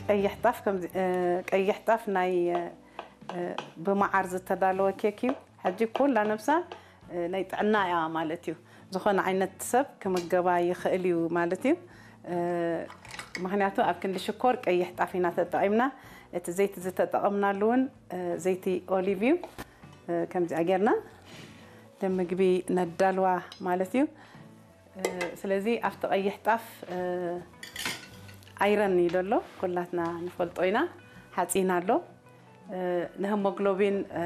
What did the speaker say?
ቀይሕ ጣፍ ከምዚ እ፣ ቀይሕ ጣፍ ናይ እ፣ ብመዓር ዝተዳለወ ኬክ እዩ። ሕጂ ኩላ ነብሳ እ፣ ናይ ጥዕና እያ ማለት እዩ። ዝኾነ ዓይነት ሰብ ክምገባ ይኽእል እዩ ማለት እዩ። እ፣ ምኽንያቱ ኣብ ክንዲ ሽኮር ቀይሕ ጣፍ ኢና ተጠቒምና። እቲ ዘይቲ ዝተጠቐምናሉ እውን እ፣ ዘይቲ ኦሊቭ እዩ። እ፣ ከምዚኣ ጌርና ንምግቢ ነዳልዋ ማለት እዩ። እ፣ ስለዚ ኣብቲ ቀይሕ ጣፍ እ፣ ኣይረን እዩ ዘሎ፣ ኩላትና ንፈልጦ ኢና። ሓፂን ኣሎ። እ፣ ንሄሞግሎቢን እ፣